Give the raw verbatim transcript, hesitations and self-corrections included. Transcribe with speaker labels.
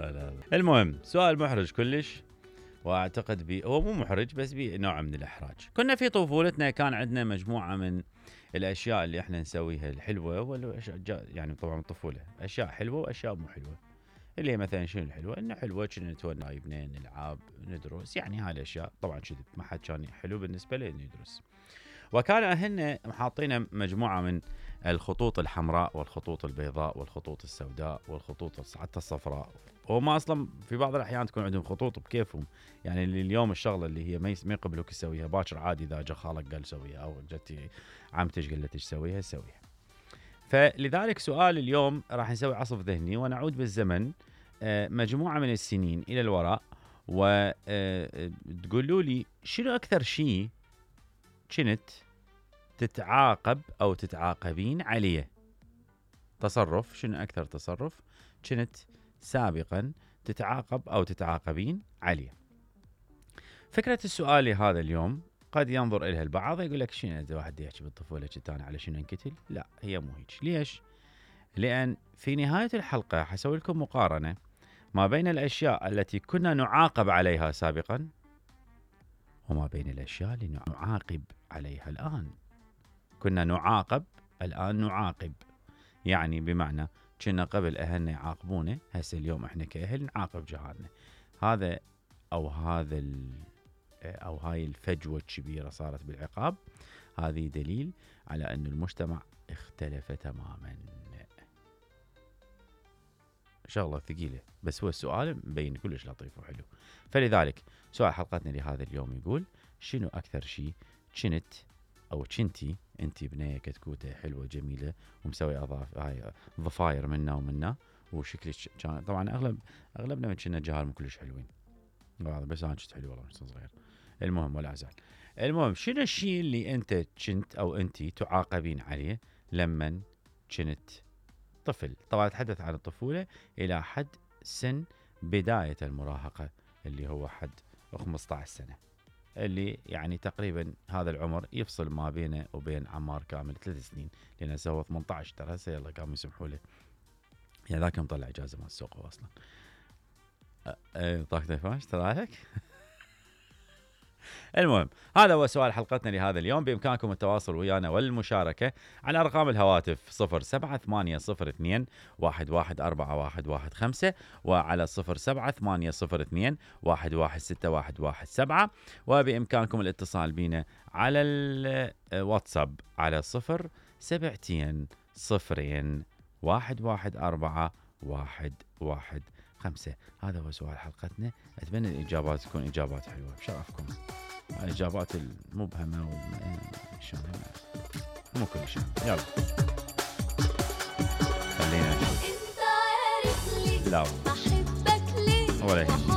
Speaker 1: لا لا. المهم سؤال محرج كلش، واعتقد بي هو مو محرج بس بي نوع من الاحراج. كنا في طفولتنا كان عندنا مجموعه من الاشياء اللي احنا نسويها الحلوه والاشياء، يعني طبعا الطفوله اشياء حلوه واشياء مو حلوه. اللي هي مثلا شنو الحلوه؟ انه حلوه كنا نتونى يبنين نلعب ندرس، يعني هاي الاشياء طبعا كذب، ما حد كان حلو بالنسبه له انه يدرس. وكان اهلنا محاطين مجموعه من الخطوط الحمراء والخطوط البيضاء والخطوط السوداء والخطوط حتى الصفراء. وما اصلا في بعض الاحيان تكون عندهم خطوط بكيفهم، يعني اللي اليوم الشغله اللي هي ما يقبلوك تسويها باكر عادي اذا جا خالك قال سويها او جتي عمتك قالت لك سويها سويها. فلذلك سؤال اليوم راح نسوي عصف ذهني ونعود بالزمن مجموعه من السنين الى الوراء، وتقولوا لي شنو اكثر شيء كنت تتعاقب او تتعاقبين عليه. تصرف، شنو اكثر تصرف كنت سابقا تتعاقب او تتعاقبين عليه. فكرة السؤال هذا اليوم قد ينظر إليها البعض يقول لك شنو إذا واحد يحكي بالطفولة كنت أنا على شنو انقتل؟ لا، هي مو هيك. ليش؟ لأن في نهاية الحلقة حسوي لكم مقارنة ما بين الأشياء التي كنا نعاقب عليها سابقا وما بين الأشياء اللي نعاقب عليها الآن. كنا نعاقب، الآن نعاقب، يعني بمعنى كنا قبل أهلنا يعاقبونا، هسه اليوم إحنا كأهل نعاقب جهالنا. هذا أو هذا أو هاي الفجوة الكبيرة صارت بالعقاب، هذه دليل على أن المجتمع اختلف تماما. شغلة ثقيلة بس هو السؤال مبين كلش لطيف وحلو. فلذلك سؤال حلقتنا لهذا اليوم يقول شنو أكثر شيء كنت أو كنتي أنت بنية كتكوتة حلوة جميلة ومسوي أضاف هاي ضفاير منا ومنا وشكلك كان طبعا أغلب أغلبنا كنا جهال مو كلش حلوين، بس أنا كنت حلو والله كنت صغير. المهم ولا أزعل. المهم شنو الشيء اللي أنت كنت أو أنت تعاقبين عليه لمن كنت طفل؟ طبعا أتحدث عن الطفولة إلى حد سن بداية المراهقة اللي هو حد خمسة عشر سنة، اللي يعني تقريبا هذا العمر يفصل ما بينه وبين عمار كامل ثلاث سنين، لأنه سوى ثمانية عشر ترى هسه يلا قاموا يسمحوا له، يعني ذاك يوم طلع إجازة مال السوق أصلا. أه طاقة نفاش ترى لك. المهم هذا هو سؤال حلقتنا لهذا اليوم. بإمكانكم التواصل ويانا والمشاركة على أرقام الهواتف صفر سبعة ثمانية صفر اثنين واحد واحد أربعة واحد واحد خمسة وعلى صفر سبعة ثمانية صفر اثنين واحد واحد ستة واحد واحد سبعة، وبإمكانكم الاتصال بنا على الواتساب على صفر سبعتين صفرين واحد واحد أربعة واحد واحد خمسة. هذا هو سؤال حلقتنا. أتمنى الإجابات تكون إجابات حلوة بشرفكم. الإجابات المبهمة والشان مو كل شيء. يلا خلينا نشوف. لا أحبك ليه ولا يهمني.